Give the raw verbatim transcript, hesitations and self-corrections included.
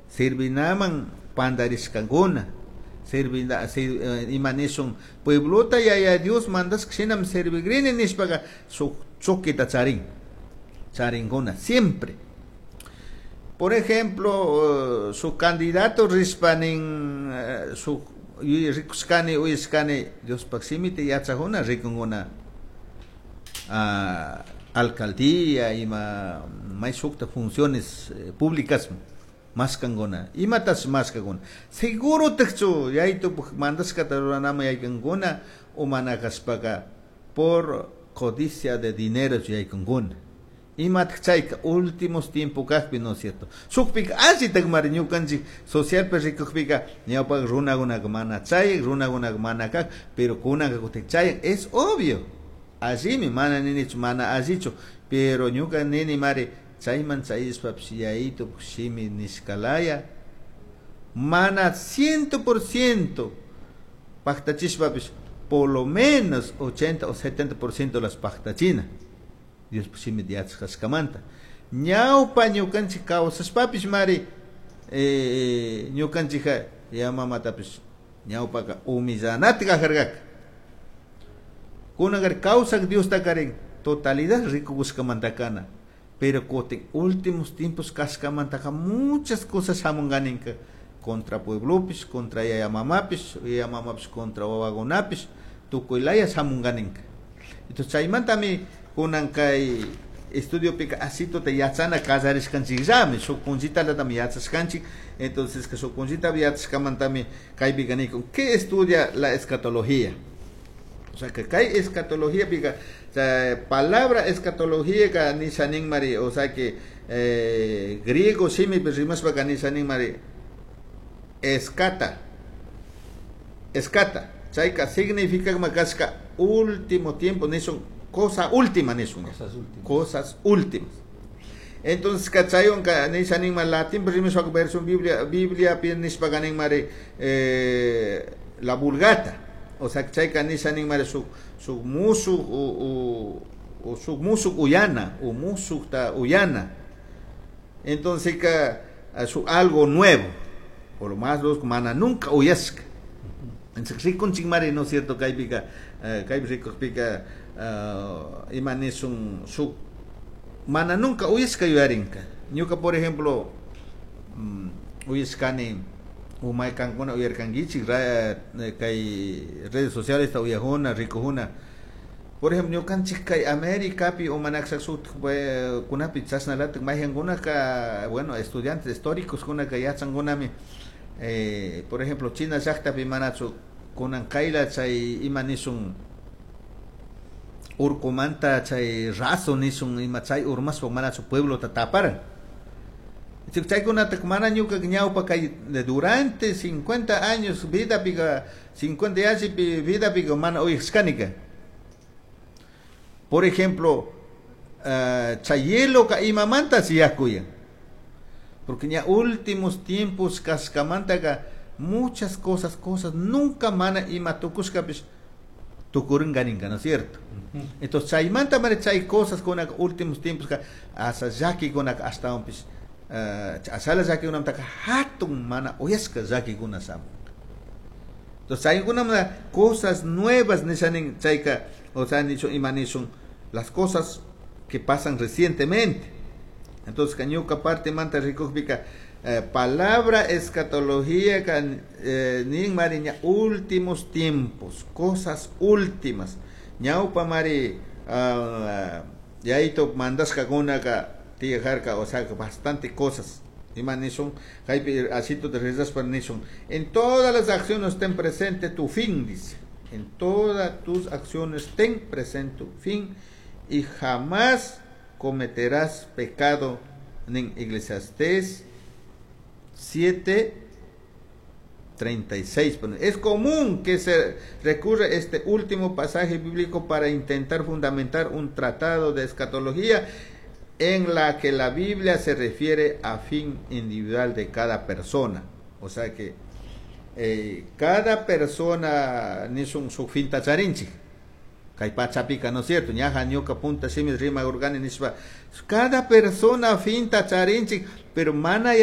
Servinaman pandarishkakuna. Servina ima nishun pueblota Yaya Dios mandashka shinami servigrini nishpaka shuk choqueta charin. Charinkuna siempre. Por ejemplo, su candidato rishpa nin shuk rikushkani uyashkani Diospak shimita yachakuna rikunkuna alcaldía ima may shukta funciones públicas mashkankuna. Imatash mashkakuna. Seguro tikchu yayitupak mandashkata ruranaman yaykunkuna o mana kashpaka por codicia de dinero yaykunkuna. Imatak chayka últimos tiempo kakpi, ¿no es cierto? Shukpika allitakmari ñukanchik socialpi rikukpika ñawpak runakunaka mana chayak, runakunaka mana kak, pero kunanka kutin chayan, es obvio. Allimi, mana ninichu, mana allichu, pero ñuka nini mari chayman chayashpapish yayitupak shimi nishkalaya mana ciento por ciento paktachishpapish por lo menos ochenta o setenta por ciento las paktachina. Diospak shimita yachashkamanta. Ñawpa ñukanchik kawsashpapish mari eh, ñukanchikka ya mamatapish ñawpaka humillanata kajarkaka. Kunanka kawsak Diosta karin totalidad rikukushkamanta kana. Pero kutin últimos tiempos kashkamantaka muchas cosas shamunkaninka contra pueblopish, contra yaya mamapish, yaya mamapish contra wawakunapish, tukuylaya shamunkaninka. Entonces chaymantami kunan kay estudiopika asituta yachana kallarishkanchikllami, shuk punllitalatami yachashkanchik. Entonces que shuk punllita yachashkamantami kaypika nikun, ¿qué estudia la escatología? O sea que kay escatología pika, o sea, palabra escatología ka nisha nin mari, o sea que eh, griego shimipi rimashpaka nisha nin mari escata, escata, chayka significa kashka último tiempo nishun, cosa última nishun, Cosas últimas. Cosas últimas. Entonces kachaywan ka nisha nin mari latín rimashpaka versión Biblia, Biblia pi nishpaka nin mari, eh, la Vulgata. O sea, chayka nisha nin mari shuk, shuk mushuk u, u, u shuk mushuk uyana, u mushuk ta uyana. Entonces ka, shuk algo nuevo, por lo más los mana nunca uyashka. Entonces rikunchik mari, ¿no es cierto? Kaypika, eh, kaypi rikukpika, eh, ima nishun shuk mana nunca uyashka yuyarinka. Ñuka, por ejemplo, mm, uyashkani umay kankuna uyarkankichik, ra, eh, kay redes sociales ta uyajuna, rikujuna. Por ejemplo, ñukanchik kay Américapi umanakshak shuktak, eh, kunapi chashnalatak mayhankunaka, bueno, estudiantes históricos kunaka yachankunami, eh, por ejemplo, China llaktapi manachu kunan kayla chay ima nishun urkumanta chay raso nishun ima chay urmashpa manachu pueblota taparan. Chaykunata mana ñuka ñawpa kay durante cincuenta años vida pica, cincuenta años vida pica mana uyashkanika. Por ejemplo, uh, chay hielo ka imamanta siyakuyan. Porque ya últimos tiempos kashkamanta ka muchas cosas, cosas nunca mana ima tukushkapis tukuringaninka, ¿no es cierto? Ujú. Entonces chaymanta mara chay cosas con últimos tiempos ka asa llakikuna ashtawanpis, uh, asala llakikunamantaka hatun mana uyashka llakikuna shamun. Entonces chaykunamanta cosas nuevas nishanin chayka, o sea, nicho ima nishun las cosas que pasan recientemente. Entonces, ñuka parte manta rikukpika, eh, palabra escatología ka, eh, nin mari ña últimos tiempos, cosas últimas. Ñawpa mari, ah, yayito mandashkakunaka tiyajarka, o sea, bastante cosas. Ima nishun, kaypi asito de rezaspa nishun. En todas las acciones ten presente tu fin, dice. En todas tus acciones ten presente tu fin y jamás cometerás pecado. En Eclesiastés siete, treinta y seis. Bueno, es común que se recurra a este último pasaje bíblico para intentar fundamentar un tratado de escatología en la que la Biblia se refiere a fin individual de cada persona. O sea que, eh, cada persona nishun su fin tacharinchik. Kay pachapika, ¿no es cierto? Ñaja ñuka punta shimi rima urgani nishpa. Cada persona finta charinchik, pero mana